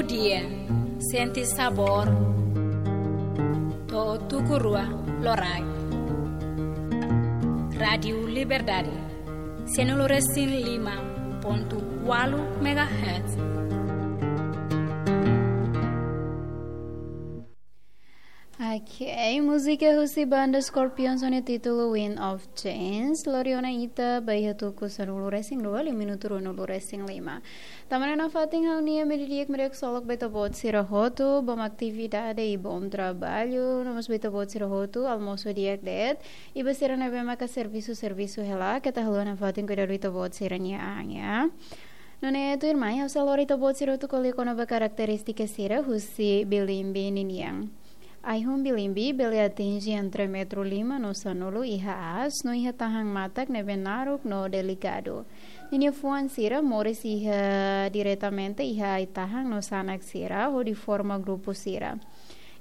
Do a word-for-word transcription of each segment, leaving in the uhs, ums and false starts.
Dia, sente sabór to'o tuku rua loraik. Rádiu Liberdade, sianulu resin lima pontu ualu megahertz. Ok, múzika husi banda Scorpions ho nia títulu Wind of Change. Lori ona ita ba iha tuku sanulu resin rua, liu minutu ruanulu resin lima. Tanba ne'e nafatin ha'u-nia media kmanek solok ba ita-boot sira hotu, bom atividade i bom trabalho, no mós ba ita-boot sira hotu, almosu di'ak de'it, i ba sira ne'ebé maka servisu, servisu hela, keta haluha nafatin kuidadu ita-boot sira-nia an, ya. Nune'e tuirmai, ha'u sei lori ita-boot sira hotu ko'alia kona-ba karakterístika sira husi bilimbi ninian. Ai-hun bilimbi bele atinje entre metru lima no sanulu iha aas, no iha tahan matak ne'ebé naruk no delikadu. Ninia fuan sira moris iha diretamente iha ai-tahan no sanak sira, hodi forma grupu sira.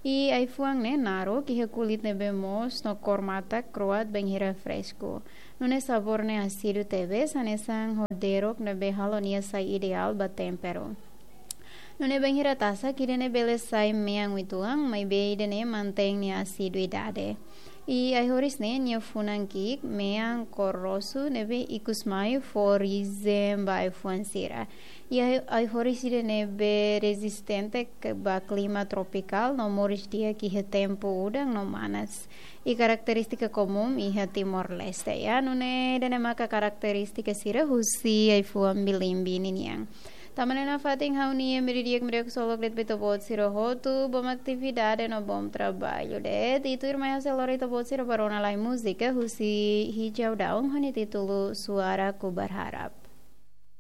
I ai-fuan ne'e naruk, iha kulit ne'ebé moos no kór matak kro'at bainhira fresku. Nune'e sabór ne'e asidu tebes, hanesan ho derok ne'ebé halo nia sai ideál ba temperu. Nune'e bainhira tasak, ida-ne'e bele sai mean uitoan, maibé ida-ne'e mantein nia asiduidade. I ai-horis ne'e nia funan ki'ik, mean kór rosu, ne'ebé ikus mai fó rijen ba ai-fuan sira. I ai, ai-horis ida-ne'ebé rezistente ke ba klima tropikál, no moris di'ak iha tempu udan no manas. I karakterístika komún iha Timor-Leste, ya, nune'e ida-ne'e maka karakterístika sira husi ai-fuan bilimbi ninian. Tanba ne'e nafatin ha'u-nia media kmanek solok de'it ba ita-boot sira hotu, bom atividade no bom trabalho de'it. I tuirmai ha'u sei lori ita-boot sira ba rona lai múzika husi Hijau Daun ho nia títulu Suaraku Berharap.